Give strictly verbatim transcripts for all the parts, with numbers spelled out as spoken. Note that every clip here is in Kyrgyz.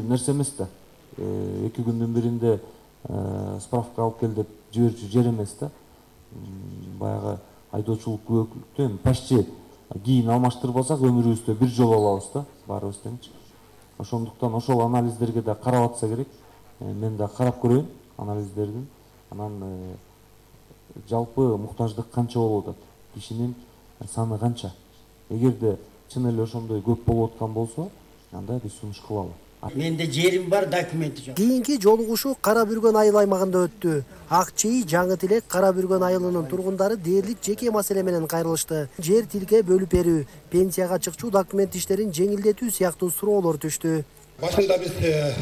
нерсе эмес да. эки күндүн биринде справка алып кел деп жиберүүчү жер эмес да. Баягы айдоочулук күбөлүктү эми почти кийин алмаштырбасак өмүрүбүздө бир жолу алабыз да баарыбыз теңчи. Ошондуктан ошол анализдерге да карап атса керек. Мен да карап көрөйүн анализдердин. Анан жалпы муктаждык канча болуп атат? Кишинин саны канча? Эгерде чын эле ошондой көп болуп аткан болсо, анда биз сунуш кылалы. Менде жерим бар, документи жок. Кийинки жолугушуу Кара Бүргөн айыл аймагында өттү. Ак Чий, Жаңы Тилек, Кара Бүргөн айылынын тургундары дээрлик жеке маселе менен кайрылышты. Жер тилке бөлүп берүү, пенсияга чыкчуу документ иштерин жеңилдетүү сыяктуу суроолор түштү. Башында биз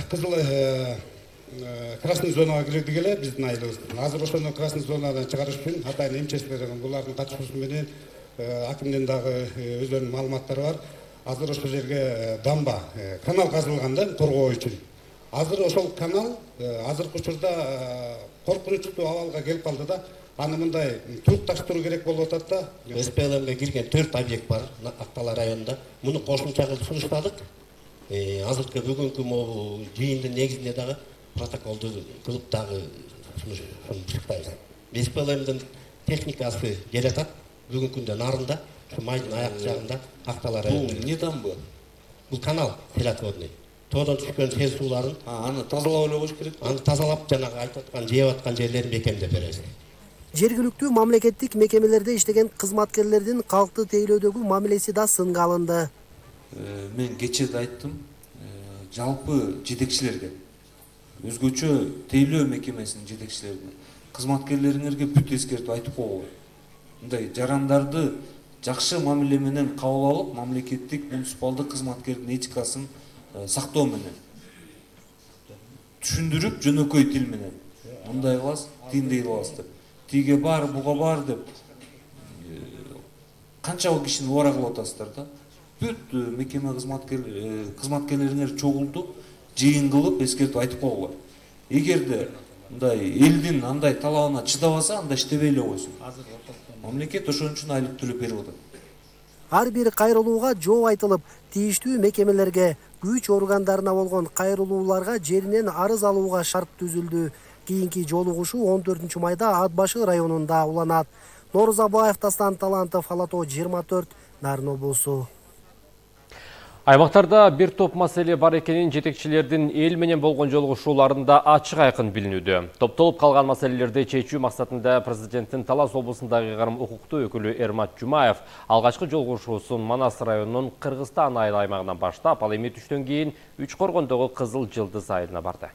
кызыл красный зонага кирдик эле биздин айылыбыз. Азыр ошону красный зонадан чыгарыш үчүн атайын эмчеселер булардын катышуусу менен акимдин дагы өздөрүнүн маалыматтары бар. Азыр ошол жерге дамба, канал казылган да коргоо үчүн. Азыр ошол канал азыркы учурда коркунучтуу абалга келип калды да. Аны мындай турукташтыруу керек болуп атат да. эс пэ эл эмге кирген төрт объект бар Актала районунда. Муну кошумча кылып сунуштадык. Азыркы бүгүнкү могу жыйындын негизинде дагы протоколду кылып дагы сунуштайбыз. эс пэ эл эмдин техникасы келатат. Бүгүнкү күндө нарында, майдын аяк жагында Актала районунда. Бул не там был? Бул канал селотворный. Тоодон түшкөн сел сууларын аны тазалап эле коюш керек. Аны тазалап жанагы айтып аткан жеп аткан жерлерин бекемдеп беребиз. Жергиликтүү мамлекеттик мекемелерде иштеген кызматкерлердин калкты тейлөөдөгү мамилеси да сынга алынды. Мен кечээ да айттым, жалпы жетекчилерге, өзгөчө тейлөө мекемесинин жетекчилерине, кызматкерлериңерге бүт эскертип айтып койгула. Мындай жарандарды жакшы мамиле менен кабыл алып, мамлекеттик муниципалдык кызматкердин этикасын сактоо менен түшүндүрүп, жөнөкөй тил менен мындай кыласыз, тиндей кыласыз деп. Тиге бар, буга бар деп канча кишини убара кылып атасыздар да. Бүт мекеме кызматкерлериңер чогулду, жыйын кылып эскертип айтып койгула. Эгерде мындай элдин андай талабына чыдабаса, анда иштебей эле койсун. Мамлекет ошон үчүн айлык төлөп берип атат. Ар бир кайрылууга жооп айтылып, тийиштүү мекемелерге, күч органдарына болгон кайрылууларга жеринен арыз алууга шарт түзүлдү. Кийинки жолугушуу он төртүнчү майда Ат башы районунда уланат. Нооруз Абаев, Дастан Талантов, Ала Тоо жыйырма төрт, Нарын облусу. Аймактарда бир топ маселе бар экенин жетекчилердин эл менен болгон жолугушууларында ачык айкын билинүүдө. Топтолуп калган маселелерди чечүү максатында президенттин Талас облусундагы ыйгарым укуктуу өкүлү Эрмат Жумаев алгачкы жолугушуусун Манас районунун Кыргызстан айыл аймагынан баштап, ал эми түштөн кийин Үч Коргондогу Кызыл Жылдыз айылына барды.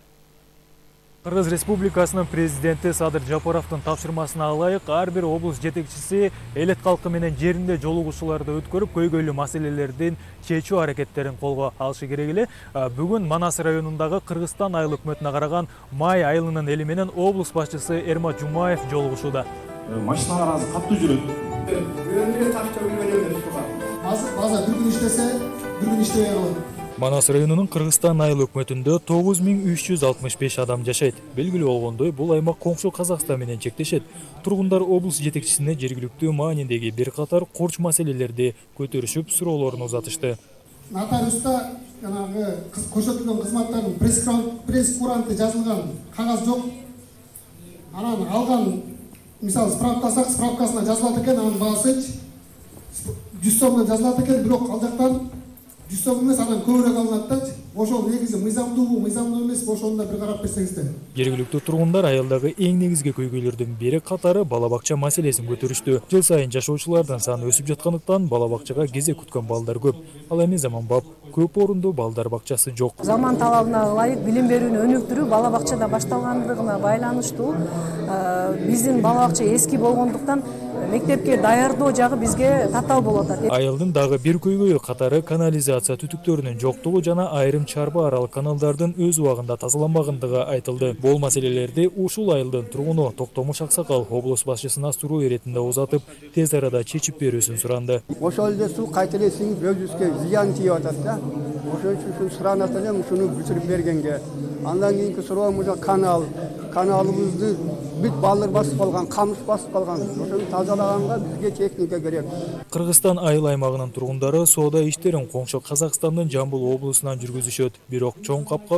Кыргыз Республикасынын президенти Садыр Жапаровдун тапшырмасына ылайык ар бир облус жетекчиси элет калкы менен жеринде жолугушууларды өткөрүп, көйгөйлүү маселелердин чечүү аракеттерин колго алышы керек эле. Бүгүн Манас районундагы Кыргызстан айыл өкмөтүнө караган Май айылынын эли менен облус башчысы Эрмат Жумаев жолугушууда. Машиналар азыр катуу жүрөт. База бир күн иштесе, бир күн иштебей калат. Манас районунун Кыргызстан айыл өкмөтүндө тогуз миң үч жүз алтымыш беш адам жашайт. Белгилүү болгондой, бул аймак коңшу Казакстан менен чектешет. Тургундар облус жетекчисине жергиликтүү маанидеги бир катар корч маселелерди көтөрүшүп, суроолорун узатышты. Нотариуста жанагы көрсөтүлгөн кызматтардын пресс-куранты жазылган кагаз жок. Анан алган, мисалы, справкасак, справкасына жазылат экен, анын баасы жүз сомдон жазылат экен, бирок ал жактан жүз сом эмес, анан көбүрөөк алынат да. Ошол негизи мыйзамдуубу, мыйзамдуу эмеспи, ошону да бир карап берсеңиздер. Жергиликтүү тургундар айылдагы эң негизги көйгөйлөрдүн бири катары бала бакча маселесин көтөрүштү. Жыл сайын жашоочулардын саны өсүп жаткандыктан бала бакчага кезек күткөн балдар көп. Ал эми заманбап көп орундуу балдар бакчасы жок. Заман талабына ылайык билим берүүнү өнүктүрүү бала бакчада башталгандыгына байланыштуу. Биздин бала бакча эски болгондуктан мектепке даярдоо жагы бизге татаал болуп атат. Айылдын дагы бир көйгөйү катары канализация түтүктөрүнүн жоктугу жана айрым чарба аралык каналдардын өз убагында тазаланбагандыгы айтылды. Бул маселелерди ушул айылдын тургуну Токтомуш Аксакал облус башчысына суроо иретинде узатып, тез арада чечип берүүсүн суранды. Ошол эле суу кайта эле сиңип өзүбүзгө зыян тийип атат да. Ошон үчүн суранат элем ушуну бүтүрүп бергенге. Андан кийинки суроомуз канал, каналыбызды бүт балдар басып калган, камыш басып калган. Ошону тазалаганга бизге техника керек. Кыргызстан айыл аймагынын тургундары соода иштерин коңшу Казакстандын Жамбыл облусунан жүргүзүшөт. Бирок чоң капка